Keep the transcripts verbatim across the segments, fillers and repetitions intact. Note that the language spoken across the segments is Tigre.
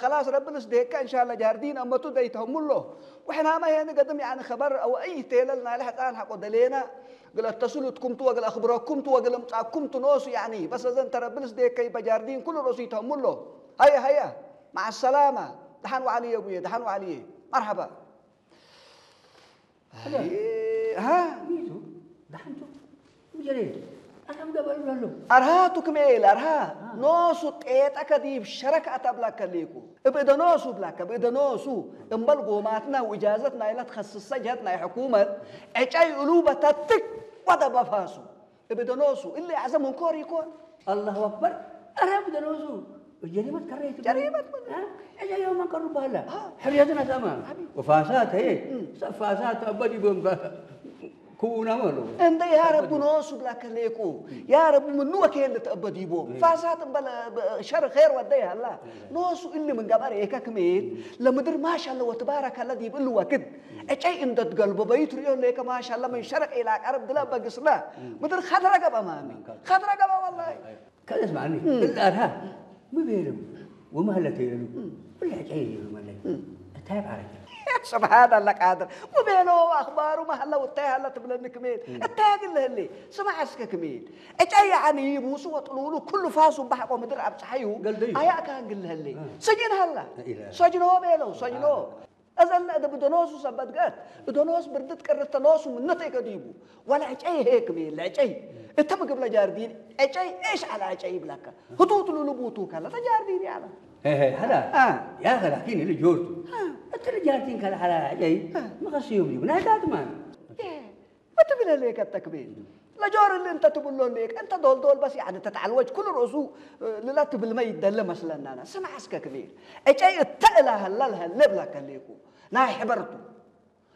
ከላስ ረቢ ልስዴከ እንሻለ ጃርዲን አመቱ ደይተህሙሎ። ወሕናመ ሄኒ ገድም ያኒ ከበር አወ እይ ቴለል ናይለ ሕጻን ሐቆ ደሌና። እግል አተስሉትኩም ቱ ወእግል አክብረኩም ቱ ወእግል እምጻኩም ቱ ኖሱ ያኒ። በስ እዘን ተረቢ ልስዴከ ይበ ጃርዲን ኩሉ ሮሱ ይተህሙሎ። ሀየ ሀየ። መዐ ሰላመ። ደሐን ወዐልዬ አቡዬ፣ ደሐን ወዐልዬ። መርሐባ። አይ፣ ሀ? ሚቱ፣ ደሐንቱ፣ ምጀሬ፣ አረም ገበሉ ለሎ። አርሃቱ ክምኤል፣ አርሃ። አ። ኖሱ ጤጠከ ዲብ ሸረክ አተብላከ ሌኩ። እብ እደ ኖሱ ብላከ፣ እብ እደ ኖሱ። እምበል ጎማትና ወእጃዘት ናይለ ትከስሰ ጀህት ናይ ሕኩመት፣ ዕጨይ እሉ በተትክ ወደበፋሱ። እብ እደ ኖሱ፣ እሊ አዕዘም እንኮር ኢኮን። አላሁ አክበር። አረ እብ እደ ኖሱ። ጀሪመት ከረይት። ጀሪመት ምን? አ? እጀ የውመን ቀሩ በህለ። አ። ሕርየትን አሳማ። አቢ። ወፋሳት ህዬ። እም። ሰብ ፋሳት ተአበድ ይቦም በ-፣ ክውናም አለው። እንደ ያ ረቡ ኖሱ ብላ ከሌቁ። ያ ረቡ ምኑ ወኬል ተአበድ ይቦም። እም። ፋሳት እምበለ በ-፣ ሸር ኼር ወደ ያላ። እም። ኖሱ እሊ ምን ገበር ኤከ ክሜል። እም። ለምድር ማሻአላ ወትባረከላ ዲብ እሉ ወክድ። እጨይ እንደ ትገልቦ በይት ርእዮ ሌከ ማሻአላ ምን ሸረቅ ኢላ ቀርብ ድለ በግስና። ምድር ከድረ ገብአ ማሚ። ከድረ ገብአ ወላሂ። ከደስ ማኒ። እም። እለ አርሃ ሚ ቤለው ወመህለ ቴለሉ። እም። እለ እጨይ ይሉ መለይ። እም። እታይ ባረክ። ስብሓን አላህ ቃድር። ሚ ቤለው አኽባሩ መህለ ወእታይ ሀለ ትብለኒ ክሜል። እም። እታይ ግል ህሌ። ስማዕ እስከ ክሜል። እጨይ ያኒ ይቡሱ ወጥሉሉ ኩሉ ፋሱ በሐቆ ምድር አብጽሐዩ። ገልደዩ። አያ ካን ግል ህሌ። እም። ሰጅን ሀላ። ኢላ። ሰጅኖ ቤለው፣ ሰጅኖ። አላ። እዘ እለ እብ እደ ኖሱ ሰበት ገአት፣ እደ ኖስ ብርድት ቅርተ ኖሱ ምነ ቴከ ዲቡ። ወለዕጨይ ሄክም ለዕጨይ። እተ ምግብ ለጃርዲን ዕጨይ ኤሽ ዐለ ዕጨይ ይብለከ። ህቱት ሉሉ ቡቱ ከለ ተጃርዲን ያለ። ሄ፣ ሄ፣ ሀላ። አ። ያኸ ላኪን እሊ ጆርቱ። አ። እተ ለጃርዲን ከለ ዐለ ዕጨይ አ። መኸስዮም ዲቡ። ናይ ዳትማን። የ። ወትብለ ሌከ ተክቤል። ለጆር እሊ እንተ ትብሎ ሌከ፣ እንተ ዶልዶል በስ ያኒ ተትዐልወጅ ኩሉ ርእሱ፣ እ፣ ልላ ትብልመ ይደለ መስለናና። ስምዕ እስከ ክቤል። እጨይ እተ እላ ሀላ ለሀለ ብላከ ሌኩ። ናይ ሕበርቱ።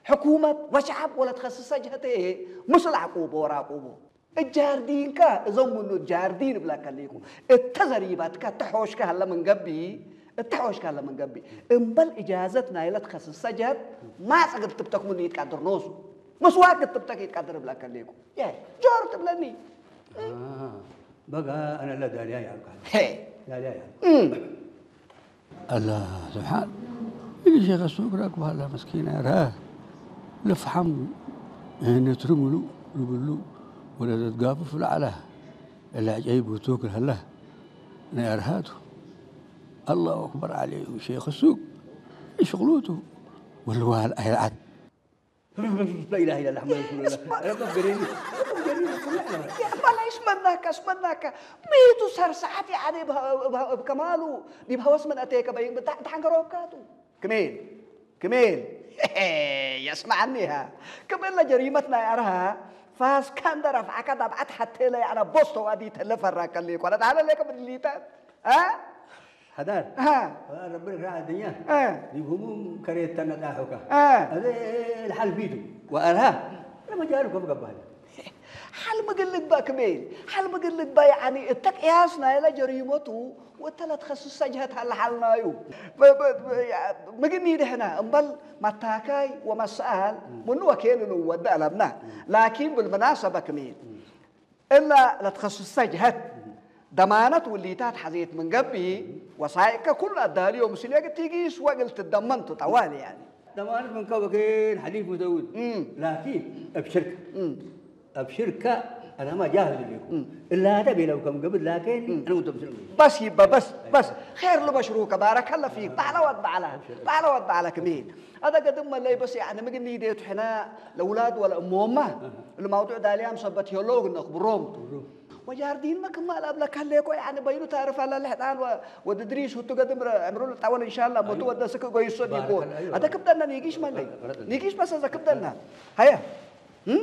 ሕኩመት ወሸዐብ ወለትከስሰ ጀህተ ምስል ዐቁቦ ወራቁቦ። እጃርዲንከ እዞም ምኑ እጃርዲን ብላከ ሌኩ። እተ ዘሪባትከ እተ ሖሽከ ሀለ ምን ገብእ፣ እተ ሖሽከ ሀለ ምን ገብእ። እምበል እጃዘት ናይለ ትከስሰ ጀህት ማጽ እግል ትብተክ ምኑ ይትቀድር ኖሱ። ምስዋክ ክትብተክ ይትቀድር እብለከ ሌኩ። የ፣ ጆር ትብለኒ። አ፣ በጋ አነ ለዳልያ ያልካል። ሄ። ዳልያ ያልካል። እም። አላ ስብሓን። እሊ ሼክ ሱግ ረክብ ሀላ መስኪን አርሃ። ልፍሓም ነትሪ ምሉእ ልብሉ ወለዘትጋፍፍ ለዐለ። እለ ዐጀይብ ውቱክ ለሀለ ናይ አርሃቱ። አላሁ አክበር ዐሌሁ ሼክ ሱግ። ሽቅሉቱ ወልዋል አይልዓት። لا إله إلا الله محمد رسول الله። እስማ-፣ ረበ ገሬኒ። ረበ ገሬኒ። ያ፣ በላ ይሽመናከ፣ ይሽመናከ። ሚቱ ሰር ሰዓት ያኒ እብ፣ እብ፣ እብ ከማሉ ዲብ ሀወስ ምን አቴከ በይን ብታ-፣ ብታን ገሮብካቱ። ክሜል፣ ክሜል። የስመዐኒ ሃ። ክም እለ ጀሪመት ናይ አርሃ ፋስካ እንደ ረፍዐከ ዳብዐት ሐቴ ለያዕነ ቦስቶ ዋዲ ተለ ፈራከ ሌኮ። ለታለ ሌከ ብድሊተ። አ? ሐዳር። አ። ረቢ ልክራ አድኛ። አ። ዲብ ህሙም ከሬት ተነጣሑካ። አ። አዜ ለሐል ፊቱ ወአርሃ ለመጃሉ ከም ገባህ። ሐል ምግል ልግባእ ክሜል፣ ሐል ምግል ልግባእ፣ ያኒ እተ ቅያስ ናይለ ጀሪመቱ ወእተ ለትከስሰ ጀህት ሀለ ሐል ናዩ። በ-፣ በ-፣ በ-፣ ያ-፣ ምግኒ ድሕነ እምበል መታካይ ወመሰአል ምኑ ወኬን ንወደ አለብና። ላኪን ብልመናሰበ ክሜል፣ እላ ለትከስሰ ጀህት ደማነት ውሊታት ሐዜት ምን ገብእ፣ ወሳይቀ ኩሉ አዳልዮ ምስሌክ ቲጊስ ወእግል ትደመንቱ ጠዋል ያኒ። ደማነት ምን ከበኬን ሐሊፍ ሙዘውድ። እም። ላኪን እብ ሽርክ። እም። እብ ሽርከ አናማ ጃህዝ ሌኩ። እም። እላተ ቤለው ከም ገብእ ላኪን እም። አነ ወንተ ምስል። በስ ይበ በስ፣ በስ። ኸይር ልበሽሩከ ባረከለ ፊክ። በዐለ ወድ በዐለ። በዐለ ወድ በዐለ ክሜል። አደ ገድም መለይ በስ ያኒ ምግኒ ዴቱ ሕነ ለውላድ ወለእሞመ እህ። እሊ መውዱዕ ዳልያም ሰበት ሄሎ እግል ነክብሮም ቱ። እህ። ወጃርዲንመ ክመ ለአብለከ ህሌኮ፣ ያኒ በይኑ ታርፍ አለ ለሕጣን ወ-፣ ወድ እድሪስ ሁቱ ገድም ረ-፣ ዕምሩ ልጣወል እንሻላ፣ ሞቱ አዩ። ወደ ስክ ጎይሶ ዲኮ። ባረከላ፣ አዩ። አደ ክብደና ኒጊሽ መለይ። ረድ-፣ ረድ-፣ ኒጊሽ በሰዘ ክብደና። ረድ-፣ ሀየ።